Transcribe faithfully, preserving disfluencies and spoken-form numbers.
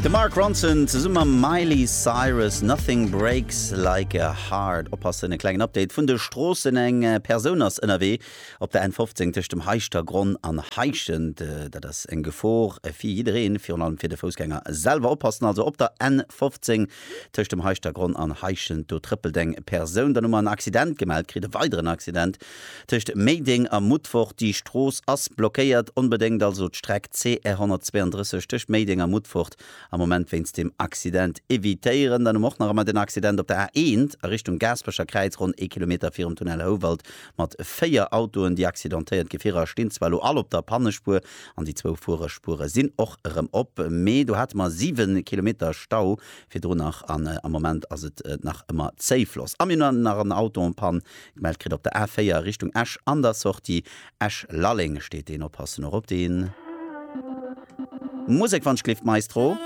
De Mark Ronson zesumme mam Miley Cyrus, Nothing Breaks Like a Heart. Oppassen, e klengen Update vun de Stroossen, Eng Persoun ass ënnerwee op der N fofzéng tëscht dem Heischtergronn an Heischent. Dat ass eng Gefor fir jiddereen, virun allem fir de Foussgänger selwer. Oppassen also op der N fofzéng tëscht dem Heischtergronn an Heischent, do trëppelt eng Persoun. Dann hu mer en Accident gemellt kritt, e weideren Accident tëscht Méideng a Mutfort. Déi Strooss ass blockéiert, onbedéngt also d'Streck C R honnertzweeandrësseg tëscht Méideng a Mutfort am Moment wéinst dem Accident evitéieren. Dann hu mer och nach ëmmer den Accident op der A eent a Richtung Gaasperecher Kräiz, ronn ee Kilometer virum Tunnel Houwald mat véier Autoen. Déi accidentéiert Gefierer stinn zwar elo all op der Pannespuer an déi zwou Fuererspuere sinn och erëm op, mee do hate mer siwe Kilometer Stau virdrun nach an am Moment ass et nach ëmmer zéifloss. A mir hunn nach en Auto en panne gemellt kritt op der A véier Richtung Esch an der Sortie Esch-Lalleng steet deen. Oppassen och op deen. Musek wann ech gleeft, Maestro.